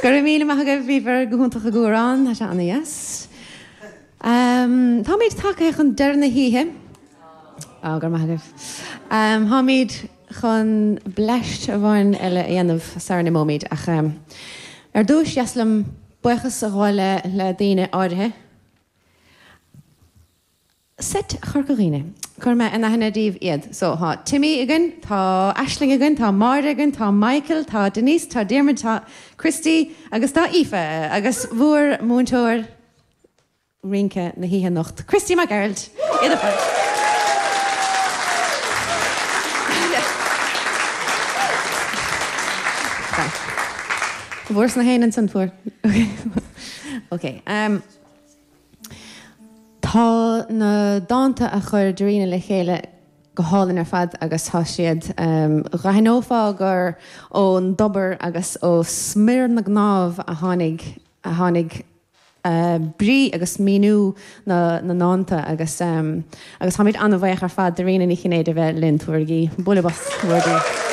Go raibh míle maith agaibh, bhíobhair go hiontach ag amhrán, tá sé ana-dheas. Táimid tagtha chun deireadh na hoíche. Á, go raibh maith agaibh. Táimid chun bleaist amháin eile a dhéanamh sara n-imeoimid ach ar dtúis, dheas liom buíochas a ghabháil le daoine áirithe. Seit Chorca Dhuibhne. Cuirfidh mé in aithne daoibh iad. So, tá Timmy againn, tá Aisling againn, tá Máire againn, tá Michael, tá Denise, tá Diarmuid, tá Christy agus tá Aoife agus bhur múinteoir rince na hoíche anocht, Christy Mac Gearailt. Iad ar fad. Bhfuair na héin ansan, fuair. Ok. Tá na dánta a chuir Darina le chéile go hálainn ar fad agus tá siad, dh'aithneofá gur ón dtobar agus ó smior na gcnámh a tháinig, a tháinig brí agus míniú na ndánta agus, agus táimid an-bhuíoch ar fad Darina Ní Chinnéide a bheith linn. Tabhairigí bualadh bos mór di.